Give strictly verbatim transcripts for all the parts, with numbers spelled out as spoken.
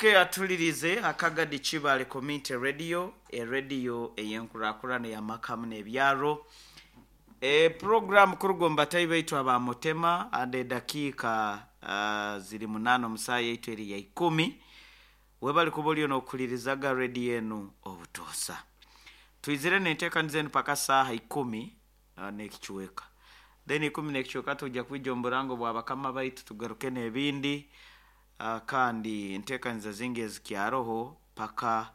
Okay, atulirize akagadi Kibale Community Radio, erediyo ey'enkurakurana ey'amakamu n'ebyaro. E program kuruga omu batayi baitu aba Mutema ande edakiika uh, ziri munaana omu saaha yaitu eri ya ikumi. Webali kuba oliyo n'okuhulirizaga rediyo enu obutoosa. Twizire n'enteekaniza enu paka saaha ikumi uh, n'ekicweka. Then ikumi n'ekicweka tujja kwija omu burango bwa bakama baitu tugaruke n'ebindi uh, kandi enteekaniza zingi ezikyaroho paka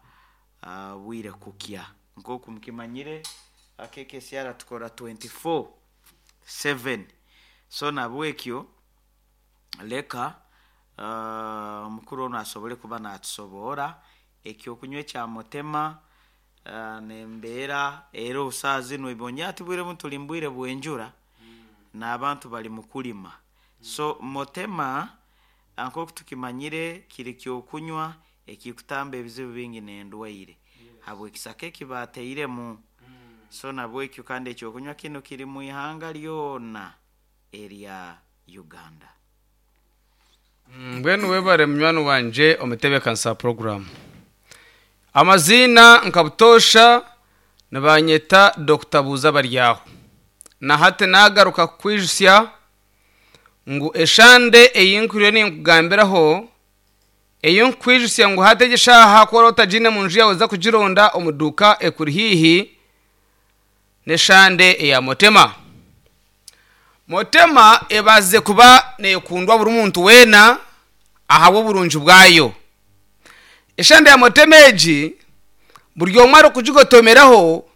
uh, bwire kukya. Nk'oku mukimanyire K K C R tukora twenty-four seven, so nabwekyo leka uh, omukuru onu asobole kuba natusoboora ekyokunywa ekya Mutema uh, nembeera era obusaa zinu ibonye ati bwire bunu tuli mbwire bw'enjura n'abantu bali mu kulima. So Motema nk'oku tukimanyire kiri kyokunywa ekikutamba ebizibu bingi n'endwaire habw'ekisaka eki baatairemu. So nabwekyo kandi ekyokunywa kinu kiri mu ihanga lyona erya Uganda. Mbwenu webare, munywani wanje omutebeekanisa program. Amaziina nka butoosha nibanyeta Doctor Buuza Baryaho, na hati nagaruka kukwijusya ngu eshande ei nkuriyo ninkugambiraho, ei nkukwijusya ngu hati egi eshaaha ku oraba otagiine mu nju yaawe, oza kugironda omu duuka ekuri haihi, n'eshande eya Motema. Motema ebazize kuba neekundwa buri muntu weena ahabw'oburungi bwayo. Eshande ya Motema egi buri omwe arikugigotomeraho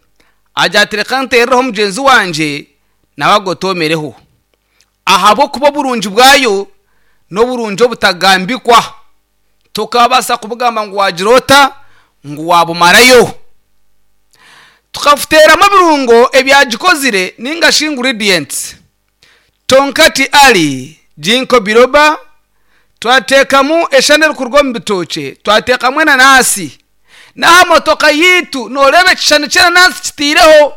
agira ati, "Reka nteerereho mugyenzi wangye nawe agotomereho," ahabw'okuba oburungi bwayo n'oburungi obutagambikwa, tokabaasa kubugamba ngu wagira ota ngu wabumarayo. Tukafuteeramu ebirungo ebyagikozire ninga shi ingredients: Tongkat Ali, ginkgo biloba, twateekamu eshande erikuruga omu bitookye, twateekamu enanasi. N'aha motoka yiitu nooreeba ekishushani ky'enanasi kitiireho.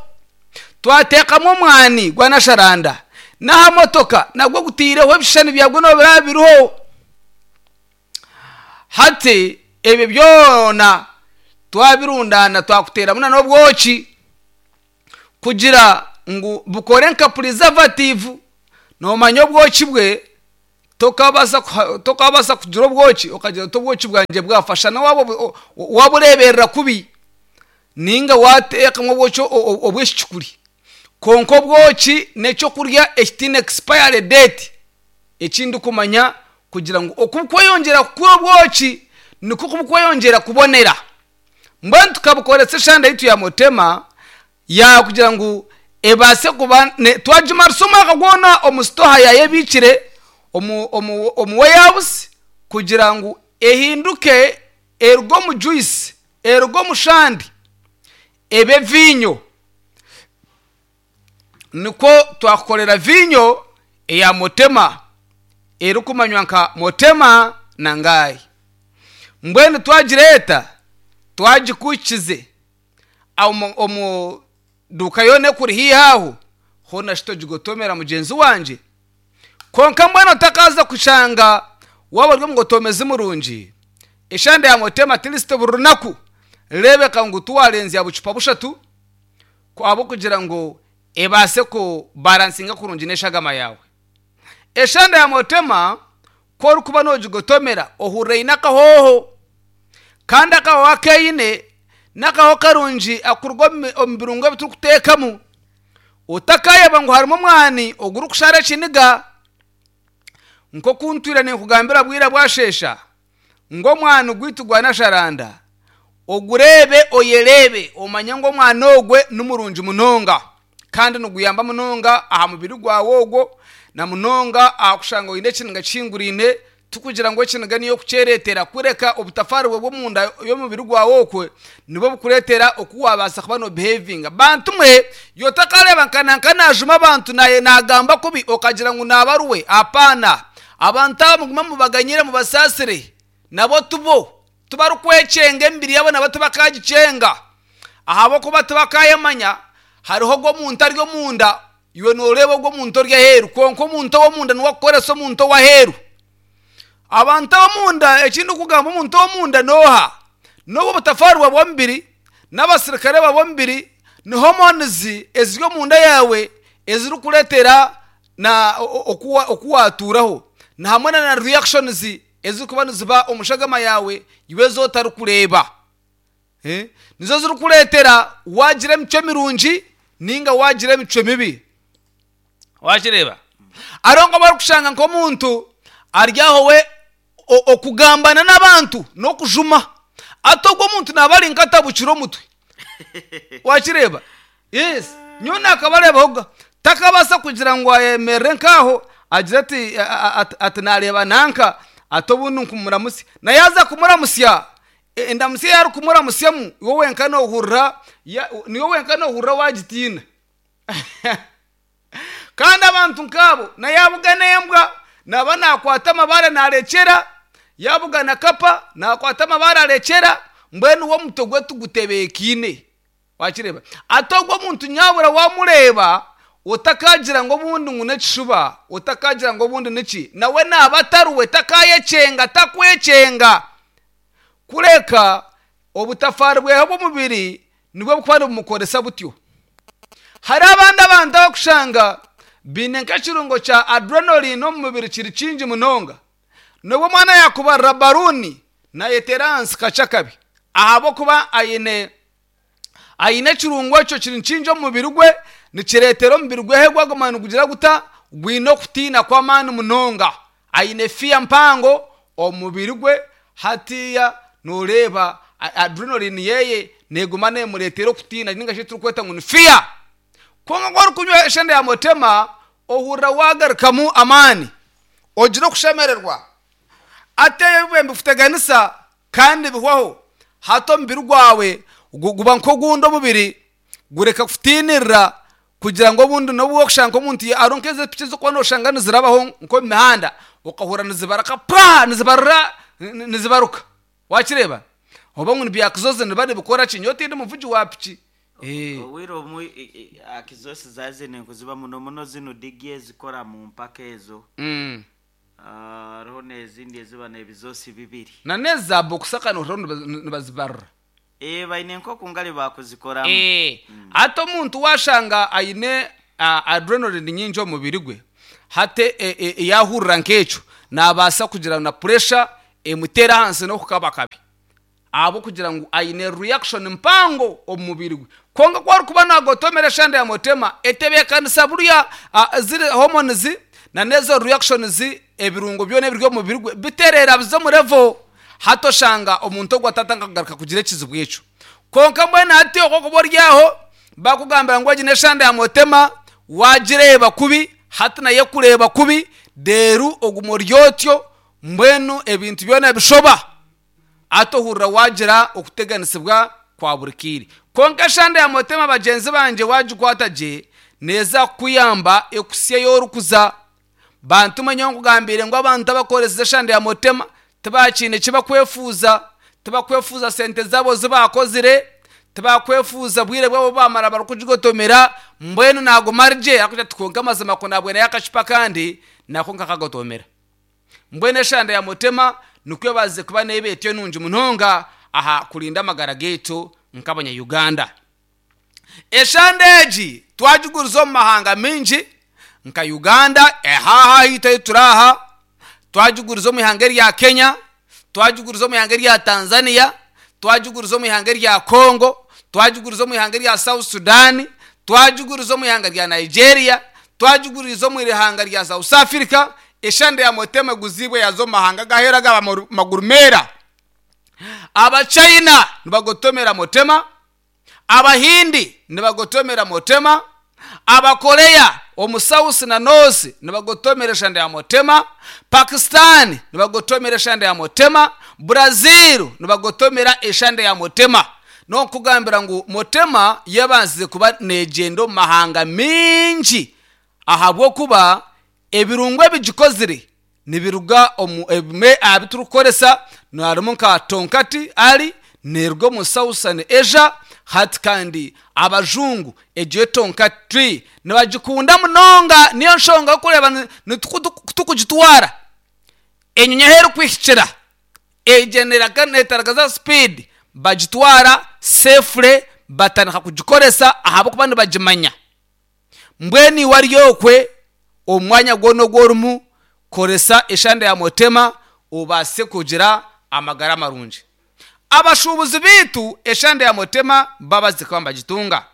Twateekamu omwani gwa nasharanda, n'aha motoka nagwo gutiireho, ebishushani byagwo noobiraba biriho. Hati ebyo byona twabirundana, twakuteeramu na n'obwoki kugira ngu bukore nka preservative. Noomanya obwoki bwe tokabaasa kuha- tokabaasa kugira obwoki okagira oti obwoki bwangye bwafasha waba wabureeberera kubi ninga wateekamu obwoki o- o- obw'ekicukuri. Konka obwoki n'ekyokurya ekitiine expiry date. Ekindi kumanya kugira ngu okukweyongyera kukura obwoki nikwo kubukweyongyera kubonera. Mbwenu tukabukoresa eshande yitu ya Motema yakugira ngu ebaase kuba ne- twagimarisa omwaka gwona omu sitoha yayo ebiikire omu, omu, omu warehouse kugira ngu ehinduke, eruge omu juice, eruge omu shandi, ebe vinyo. Nikwo twakukorera vinyo eya Motema erikumanywa nka Motema na Ngayi. Mbwenu twagireeta, twagikukize omu, omu duka yoona ekuri haihi aho hoona shi togigotomera mugyenzi wangye. Konka mbwenu otakaza kushanga waba ori omugotomezi murungi, eshande ya Motema at least buri runaku reebeka ngu tuwarenzya bucupa bushatu ahabw'okugira ngu ebaase kubalansinga kurungi n'eshagama yawe. Eshande ya Motema ku orikuba noogigotomera ohurira eine akahooho, kandi akahoho akeine n'akahoho karungi akuruga omu omu birungo ebi turikuteekamu. Otakayeba ngu harimu omwani ogurikushara ekiniga, nk'oku ntwire ninkugambira bwire bwashesha ngu omwani gwaitu gwa nasharanda ogureebe, oyereebe, omanye ngu omwani ogwe ni murungi munonga kandi niguyamba munonga aha mubiri gwawe ogwo, na munonga aha kushanga oine ekiniga kihinguraine. Tukugira ngu ekiniga niyo kukyereetera kureka obutafaari bwe bw'omunda y'omubiri gwawe okwe nibwo bukureetera oku wabaasa kuba nobehavinga. Bantu mwe, yotakareeba nka nanka najuma abantu naye nagamba kubi okagira ngu nabaruwe, apaana. Abantu aba mugume mubaganyire, mubasaasire, nabo tubo tibarikwekyenga, emibiri yabo nabo tibakagikyenga ahabwokuba tibakayemanya. Hariho ogwo omuntu ari omunda, iwe nooreeba ogwo omuntu ori aheeru, kwonka omuntu ow'omunda niwe akukoresa omuntu ow'aheeru. Abantu ab'omunda, ekindi kugamba omuntu ow'omunda n'oha? N'obu obutafaari bwa bw'omubiri n'abasirikare ba bw'omubiri, ni hormones eziri omunda yaawe ezirikureetera na oku watuuraho, na hamwe na reactions ezirikuba niziba omu shagama yaawe iwe ezi otarikureeba. Eh, nizo zirikureetera wagira emicwe mirungi ninga wagira emicwe mibi. Wakireeba? Hariho nk'abarikushanga nk'omuntu ari aho we okugambana n'abantu n'okujuma, ati ogwo omuntu naaba ari nkatabukire omutwe. Wakireeba? Yes, nyowe nakabareebahoga, takabaasa kugira ngu ayemerere nk'aho agire ati ati nareeba nanka, ati obundi nkumuramusya, na yaaza kumuramusya, endamusya ei arikumuramusyamu iwe wenka noohurira, niiwe wenka noohurira waagitiina. Kandi abantu nk'abo na yaabugana embwa naaba naakwata amabaare naarekyera, yaabugana kapa naakwata amabaare arekyera, mbwenu we omutwe gwe tugutebeekaine. Wakireeba? Ati ogwo omuntu nyabura waamureeba otakagira ngu obundi ngu n'ekishuba, otakagira ngu obundi niki, nawe naaba atariwe, takaayekyenga, takwekyenga. Kureka obutafaari bwehe bw'omubiri nibwo bukuba nibumukoresa butyo. Hariho abandi abantu abakushanga baine nk'ekirungo kya adrenaline omu mubiri kiri kingi munonga. N'obu omwana yaakubarira baruuni naayeteera ahansi kakye akabi, ahabw'okuba aine aine ekirungo ekyo kiri kingi omu mubiri gwe, nikireetera omubiri gwe gwaguma nigugira guta? Gwine okutiina kw'amaani munonga. Aine fear mpango omu mubiri gwe, hatiiya nooreeba adrenaline yeeye neeguma neemureetera okutiina ninga shi ekiturikweta ngu ni fear. Kwonka ku orikunywa eshenda ya mutema, ohurira waagarukamu amaani, ogira okushemererwa. Ati ebyo nibikuteganisa kandi bihwaho, hati omubiri gwawe guba nk'ogundi omubiri gureka kutiinirira kugira ngu obundi n'obu wakushanga nk'omuntu hariho nk'ezi epiki ezirikuba nooshanga nizirabaho nk'omu mihanda, okahurira nizibaraka paa, nizibarira nizibaruka. Wakireeba? Oba ngu nibyakizozi nibiba nibikora ki? Nyowe tindi muvugi wa piki. Obwire obumwe akizosi zaazine nikuziba muno muno zinu digi ezikora mu mpaka ezo. Hariho n'ezindi eziba n'ebizosi bibiri. Na n'ezi za bokusa kandi nohurira nibazibarira. Ee, baine nk'oku ngari baakuzikoramu. Hati omuntu waashanga aine adrenaline nyingi omu mubiri gwe, hati yaahurira nk'ekyo, naabaasa kugira na pressure emuteere ahansi n'okukaba kabi, ahabw'okugira ngu aine reaction mpango omu mubiri gwe. Kwonka ku arikuba naagotomera eshanda ya mutema, etebeekanisa buriya ziri hormones na n'ezo reactions, ebirungo byona ebiri omu mubiri gwe bitereera biza omu level, hati oshanga omuntu ogwo atatandika kugaruka kugira ekizibu ekyo. Kwonka mbwenu hati okwo okuba ori aho bakugambira ngu egi n'eshanda ya mutema, waagireeba kubi, hati nayo ekureeba kubi, reero oguma ori otyo, mbwenu ebintu byona bishoba, hati ohurira waagira okuteganisibwa kwa buri kaire. Kwonka eshanda ya mutema bagyenzi bangye waagikwata gye, neeza kukuyamba ekuhitsye ei orikuza. Bantu mwe nyowe nkugambiire ngu abantu abakoresize eshanda ya mutema tibakiine eki bakwefuuza, tibakwefuuza sente zaabo zi baakozire, tibakwefuuza bwire bwabo obu baamara barikugigotomera, mbwenu naaguma ari gye arikugira ati kwonka amazima ku naabweneyo akacupa akandi nako nkakagotomera. Mbwenu eshanda ya mutema nikwo ebaasize kuba neeba etyo nungi munonga aha kurinda amagara gaitu nk'abanya-Uganda. Eshanda egi twagiguriza omu mahanga maingi nka Uganda, aha ahaitu ahu turi aha, twagiguriza omu ihanga erya Kenya, twagiguriza omu ihanga erya Tanzania, twagiguriza omu ihanga erya Congo, twagiguriza omu ihanga erya South Sudan, twagiguriza omu ihanga rya Nigeria, twagiguriza omu ihanga rya South Africa. Eshanda ya mutema eguziibwe yaaza omu mahanga ag'aheeru aga maguru meera. Abachina nibagotomera mutema, Abahindi nibagotomera mutema, Abakoreya omu South na North nibagotomera eshanda ya mutema, Pakistan nibagotomera eshanda ya mutema, Brazil nibagotomera eshanda ya mutema. N'okukugambira ngu mutema yabanzize kuba neegyenda omu mahanga maingi ahabw'okuba ebirungo ebigikozire nibiruga omu ebimwe aha bi turikukoresa harimu nka tonkati ali neeruga omu Southern Asia, hati kandi abajungu egyo tonka tree nibagikunda munonga, niyo nshonga orikureeba ku turikugitwara Enyonyi ahu erikuhikira egenera netaragaza speed, bagitwara safely, batandika kugikoresa ahabw'okuba nibagimanya. Mbwenu iwe ari okwe omu mwanya gwona ogu orimu, koresa eshande ya Motema obaase kugira amagara marungi. Abashuubuzi baitu eshande ya Motema babazi kuba nibagitunga.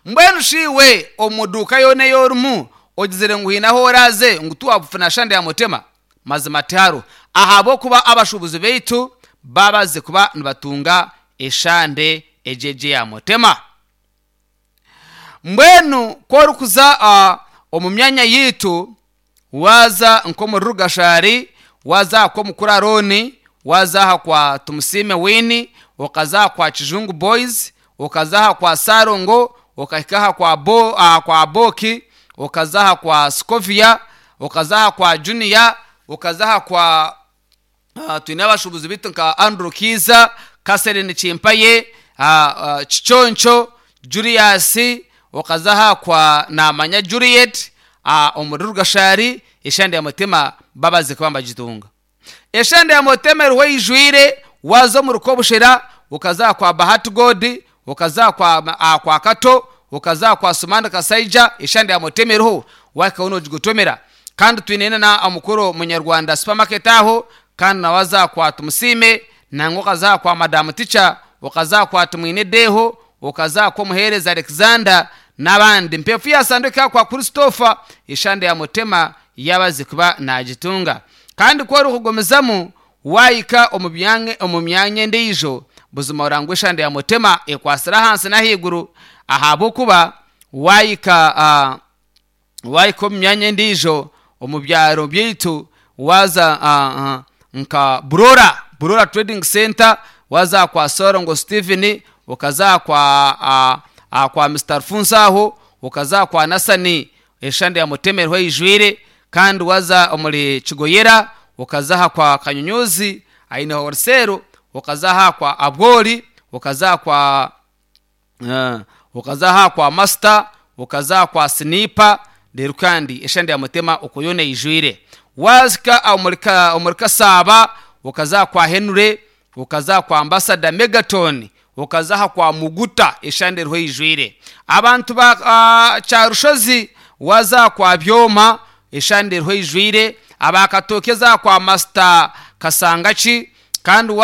Mbwenu shi iwe omu duuka yoona ei orimu ogizire ngu haine ahu oraaze ngu tiwabufuna shande ya Motema? Mazima tihariho, ahabw'okuba abashuubuzi baitu babazi kuba nibatunga eshande egi egi eya Motema. Mbwenu ku orikuza uh, omu myanya yaitu, waaza nk'omuri Rugashari, waaza aha kw'omukuru Arooni, waaza aha kwa Tumusiime Wini, okaza aha kwa Kijungu Boys, okaza aha kwa Sarongo, okahika aha kwa, Bo, aha kwa Boki, okaza aha kwa Skovia, okaza aha kwa Junior, okaza aha kwa uh, twine abashuubuzi baitu nka Andrew Kiza, Catherine Chimpaye, uh, uh, Kiconco, Julius, okaza aha kwa Namanya Juliet, uh, omuri Rugashari eshande ya Motema babazi kuba nibagitunga. Eshande ya Motema eriho eijwire. Waza omu Rukobushera, okaza kwa Bahati God, okaza kwa, uh, kwa Kato, okaza kwa Sumani Kasaija, eshande ya Motema eriho wakaho noogigutomera. Kandi twine na omukuru Munyarwanda supermarket aho, kandi nawaza kwa Tumusime, nangwa okaza kwa Madamu Ticha, okaza kwa Tumwine Deho, okaza kwa Muhereza Alexander n'abandi. Mpefu yasanduka kwa Christopher, eshande ya Motema yabazi kuba nagitunga. Kandi ku orikugumizamu wahika omu byange- omu myanya endiijo, buzima orangwa eshande ya Motema ekwasire ahansi n'ahaiguru, ahabw'okuba wahika uh, wahika omu myanya endiijo omu byaro byaitu, waza uh, uh, nka Burora, Burora Trading Center, waza kwa Sorongo Stephen, okaza kwa uh, uh, kwa Mister Alfonso aho, okaza kwa Nasani, eshande ya Motema eriho eijwire. Kandi waza omuri Kigoyera, okaza aha kwa Kanyunyuzi aine horisero, okaza aha kwa Abwori, okaza kwa uh, okaza aha kwa Master, okaza kwa Sinipa rero kandi eshande ya Motema okwo yoona eijwire. Wazika omuri Ka- omuri Kasaba, okaza kwa Henry, okaza kwa Ambassador Megaton, okaza aha kwa Muguta, eshande eriho eijwire. Abantu ba uh, Kyarushozi, waza kwa Byoma, eshande eriho eijwire. Abakatoke za kwa Master Kasangachi kandi.